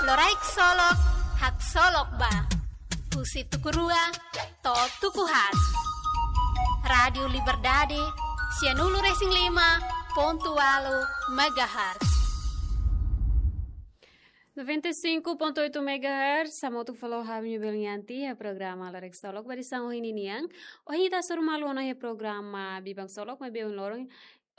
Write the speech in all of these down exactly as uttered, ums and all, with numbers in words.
Loraik Solok, haksolok ba. Husi tuku rua to'o tuku haat. Rádiu Liberdade, sianulu-resin-lima pontu ualu megahertz. Noventa e cinco ponto oito megahertz, hamutuk fali ho ami-nia belun Yanti iha programa Loraik Solok ba edisaun ohin nian. Ohin ita hasoru malu ona iha programa Biban Solok, maibé ohin loron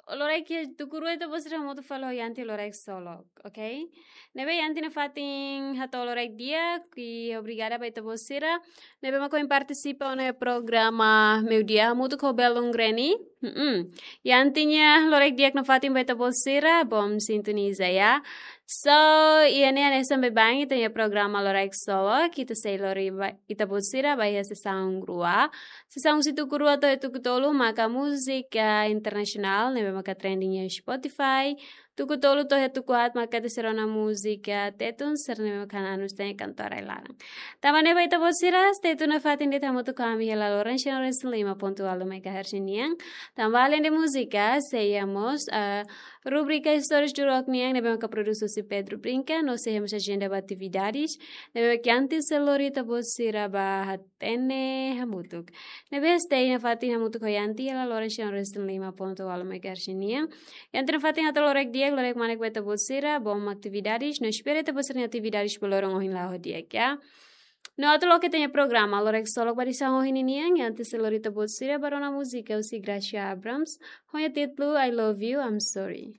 loraik iha tuku rua ita-boot sira hamutuk fali ho Yanti Loraik Solok, oke? Ne'ebé Yanti nafatin hato'o loraik di'ak, i obrigada ba ita-boot sira ne'ebé mak ohin partisipa ona iha programa Meiudia hamutuk ho belun Granny. Mm-mm. Yanti nia loraik di'ak nafatin ba ita-boot sira, bom sintoniza, ya. So, iha ne'e hanesan baibain ita-nia programa Loraik Solok, ita sei lori ba, ita-boot sira ba iha sesaun rua. Sesaun husi tuku rua to'o tuku tolu maka múzika internasionál, ne'ebé maka trending iha Spotify. Tuku tolu to'o tuku haat maka ita sei rona múzika Tetun, sira ne'ebé maka nanus tan iha kantora ai-laran. Tanba ne'e ba ita-boot sira, stay tune nafatin de'it hamutuk ho ami iha laloran sianulu-resin-lima pontu ualu megahertz nian. Tanba além de múzika, sei iha mós, ah, rubrika Istórias do Rock nian, ne'ebé maka produs husi Pedro Brinca, no sei iha mós ajenda ba atividades ne'ebé maka Yanti sei lori ita-boot sira ba hatene hamutuk. Ne'ebé stay nafatin hamutuk ho Yanti iha laloran sianulu-resin-lima pontu ualu megahertz nian. Yanti nafatin hato'o loraik di'ak, loraik manek ba ita-boot sira, bom atividades, no espera ita-boot sira-nia atividades ba loron ohin la'o di'ak, ya. No atu loke ita-nia programa Loraik Solok ba edisaun ohin nian, Yanti sei lori ita-boot sira ba rona múzika husi Gracia Abrams, ho nia títulu I Love You, I'm Sorry.